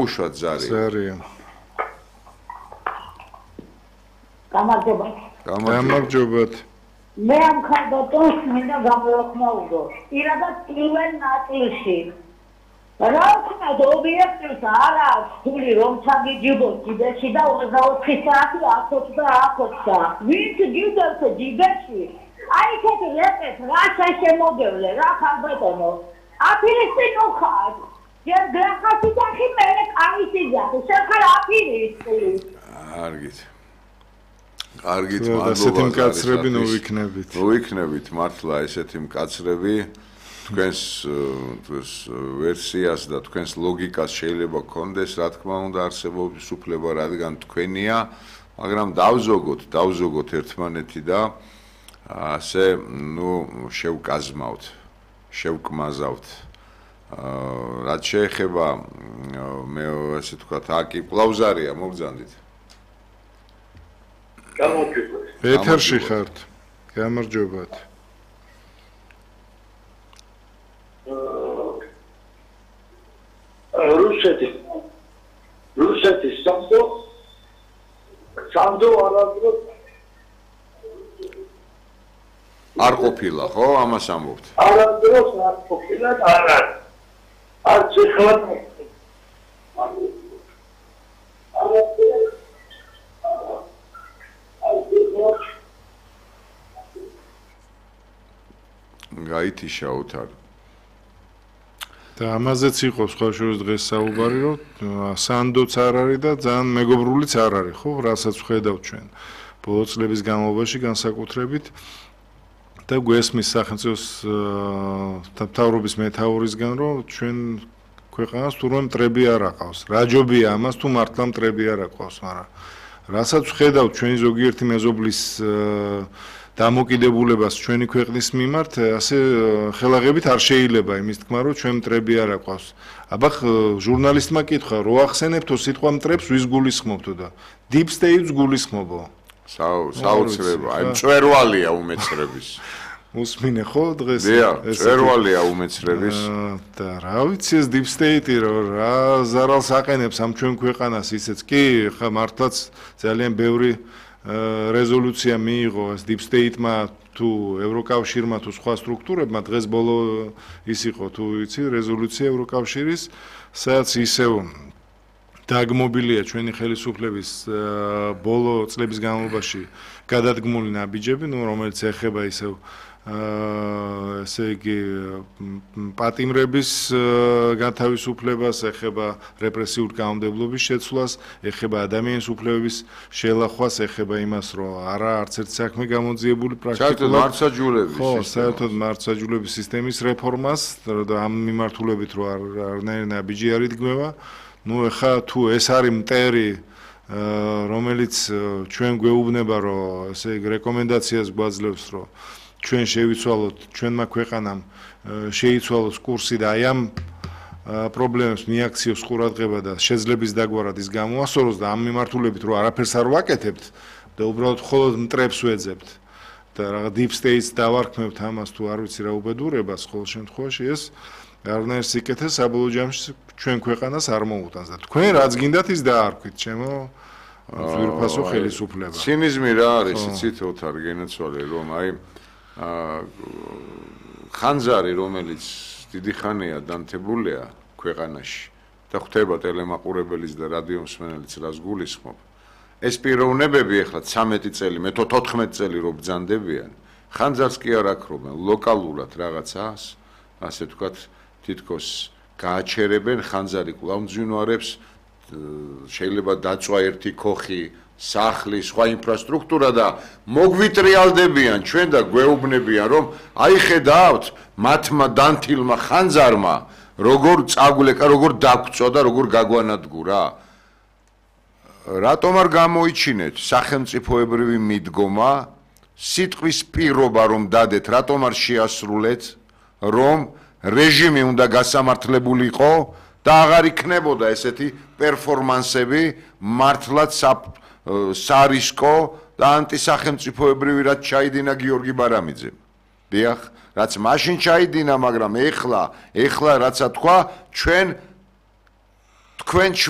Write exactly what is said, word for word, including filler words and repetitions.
გამოუშვათ ზარი. ზარია. გამარჯობათ. გამარჯობათ. მე ამ ხალხს მინდა გამოვხმაურო. პირადად პირველ ნაწილში. რა ვქნა ობიექტს არა სული რომ ჩაგიჯიბოთ ჯიბეში და ოცდაოთხი საათი ათოცდა ათოცდა. ვინც ჯიბებს ჯიბეში? აი ეს რეპეთ რა შემოდევლე რა ხალბატონო. აფირისტი ნუხარ. ჯერ გრახასი დახი მე კაისი ძახი. შეხარ აფირისტი. კარგით. კარგით, მადლობა. ესეთი მკაცრები ნოვიქნებით. ნოვიქნებით მართლა ესეთი მკაცრები თქვენს თქვენს ვერსიას და თქვენს ლოგიკას შეიძლება გქონდეს, რა თქმა უნდა, არსებობის უფლება, რადგან თქვენია, მაგრამ დავზოგოთ, დავზოგოთ ერთმანეთი და ასე, ნუ შევკაზმავთ, შევკმაზავთ. რაც შეეხება მე ასე ვთქვათ, აკი კლავზარია მოგძანდით. გამარჯობათ. ეთერში ხართ. გამარჯობათ. რუსეთი რუსეთის სამდო სამდო არადრო არ ყოფილა, ხო? ამას ამბობთ. არადროს არ ყოფილა და არა. არც ახლა გაითიშაოთ არ და ამაზეც იყო სხვა შორის დღეს საუბარი, რომ სანდოც არ არის და ძალიან მეგობრულიც არ არის, ხო, რასაც ვხედავთ ჩვენ ბოლო წლების განმავლობაში განსაკუთრებით და გვესმის სახელმწიფოს მთავრობის მეთაურისგან, რომ ჩვენ ქვეყანას თურმე მტრები არ აყავს. რა ჯობია ამას თუ მართლა მტრები არ აყავს, მაგრამ რასაც ვხედავთ ჩვენი ზოგიერთი მეზობლის დამოკიდებულებას ჩვენი ქვეყნის მიმართ, ასე ხელაღებით არ შეიძლება იმის თქმა, რომ ჩვენ მტრები არ აყავს. აბა ჟურნალისტმა კითხა, რო ახსენებთო სიტყვა მტრებს ვის გულისხმობთო და deep state-ს გულისხმობო. საოცრება, აი მწვერვალია უმეცრების. უსმინე ხო დღეს? დიახ, მწვერვალია უმეცრების. და რა ვიცი ეს deep state-ი რა ზარალს აყენებს ამ ჩვენ ქვეყანას ისეც კი, ხა მართლაც ძალიან ბევრი რეზოლუცია მიიღო ეს deep state-მა თუ ევროკავშირმა თუ სხვა სტრუქტურებმა დღეს ბოლო ის იყო თუ იცი რეზოლუცია ევროკავშირის სადაც ისევ დაგმობილია ჩვენი ხელისუფლების ბოლო წლების განმავლობაში გადადგმული ნაბიჯები, ნუ რომელიც ეხება ისევ ესე იგი პატიმრების განთავისუფლებას, ეხება რეპრესიული კანონმდებლობის შეცვლას, ეხება ადამიანის უფლებების შელახვას, ეხება იმას, რომ არა არც ერთ საქმე გამოძიებული პრაქტიკულად მართლმსაჯულების ხო, საერთოდ მართლმსაჯულების სისტემის რეფორმას და ამ მიმართულებით რომ არნაირი ნაბიჯი არ იდგმება. ნუ ეხა თუ ეს არის მტერი რომელიც ჩვენ გვეუბნება რომ ესე იგი რეკომენდაციას გვაძლევს რომ ჩვენ შევიცვალოთ ჩვენმა ქვეყანამ შეიცვალოს კურსი და აი ამ პრობლემებს მიაქციოს ყურადღება და შეძლების დაგვარად ის გამოასწოროს და ამ მიმართულებით რომ არაფერს არ ვაკეთებთ და უბრალოდ მხოლოდ მტრებს ვეძებთ და რაღაც deep state-ს დავარქმევთ ამას თუ არ ვიცი რა უბედურებას ყოველ შემთხვევაში ეს არნაირ სიკეთეს საბოლოო ჯამში ჩვენ ქვეყანას არ მოუტანს და თქვენ რაც გინდათ ის დაარქვით ჩემო ძვირფასო ხელისუფლება. ცინიზმი რა არის იცით ოთარ გენაცვალე რომ აი ხანძარი რომელიც დიდი ხანია დანთებულია ქვეყანაში და ხვდება ტელემაყურებელიც და რადიო მსმენელიც რას გულისხმობ ეს პიროვნებები ახლა ცამეტი წელი მე თოთხმეტი წელი რო ბრძანდებიან ხანძარს კი არ აქრობენ ლოკალურად რაღაცას ასე ვთქვათ თითქოს გააჩერებენ ხანძარი კვლავ მძვინვარებს შეიძლება დაწვა ერთი ქოხი სახლის სხვა ინფრასტრუქტურა და მოგვიტრიალდებიან ჩვენ და გვეუბნებიან რომ აი ხედავთ მათმა დანთილმა ხანძარმა როგორ წაგვლეკა როგორ დაგწვა და როგორ გაგვანადგურა რატომ არ გამოიჩინეთ სახელმწიფოებრივი მიდგომა სიტყვის პირობა რომ დადეთ რატომ არ შეასრულეთ რომ რეჟიმი უნდა გასამართლებულიყო და აღარ იქნებოდა ესეთი პერფორმანსები მართლაც სარისკო და ანტისახელმწიფოებრივი რაც ჩაიდინა გიორგი ბარამიძემ. დიახ, რაც მაშინ ჩაიდინა, მაგრამ ეხლა, ეხლა რაცა თქვა, ჩვენ თქვენ